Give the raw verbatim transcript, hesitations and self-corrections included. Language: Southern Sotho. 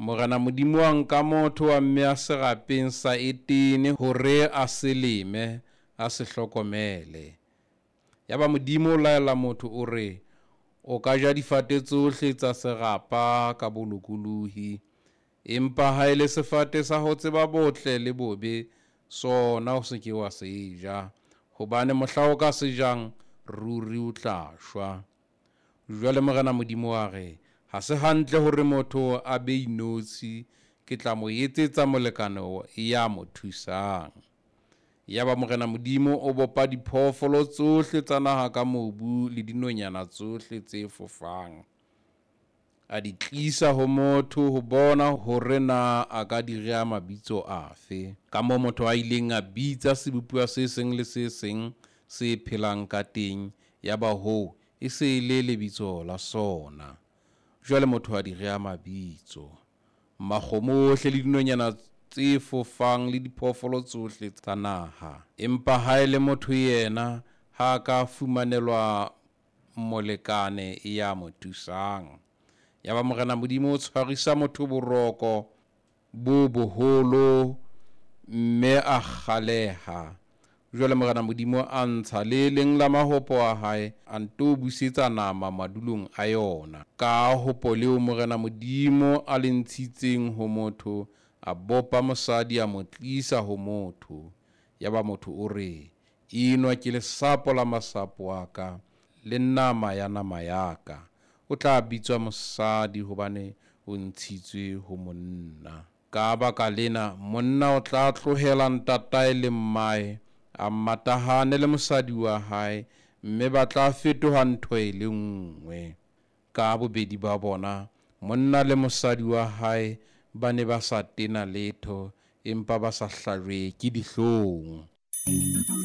Morena Modimo wa nka motho wa mmea serapeng sa Etene hore a se leme, a se hlokomele. Yaba Modimo o laela motho o re, O ka ja difate tsohle tsa serapa ka bolokolohi, empa ha e le sefate sa ho tseba botle le bobe, sona o se ke wa se ja, hobane mohla o ka se jang, ruri o tla shwa. Jwale Morena Modimo wa re, Ha se hantle hore motho a be inotshi, ke tla mo etsetsa molekane ya mo thusang. Yaba Morena Modimo o bopa diphoofolo tsohle tsa naha ka mobu le dinonyana tsohle tse fofang. A di tlisa ho motho ho bona hore na a ka di rea mabitso afe. Ka moo motho a ileng a bitsa sebopuwa se seng le se seng se phelang ka teng, yaba hoo e se e le lebitso la sona. Jwale motho a di rea mabitso. Makgomo ohle le dinonyana tse fofang le diphoofolo tsohle tsa naha. Empa ha e le motho yena, ha a ka fumanelwa molekane ya mo thusang. Yaba Morena Modimo o tshwarisa motho boroko bo boholo, mme a kgaleha. Jwale Morena Modimo a ntsha le leng la mahopo a hae, a nto busetsa nama madulong a yona. Ka hopo leo Morena Modimo a le ntshitseng ho motho, a bopa mosadi a mo tlisa ho motho. Yaba motho o re, Enwa ke lesapo la masapo a ka, le nama ya nama ya ka. O tla bitswa mosadi hobane o ntshitswe ho monna. Ka baka lena, monna o tla tlohela ntatae le mmae, a matahane le mosadi wa hae, mme ba tla fetoha ntho e le nngwe. Ka bobedi ba bona, monna le mosadi wa hae, ba ne ba sa tena letho, empa ba sa hlajwe ke dihlong.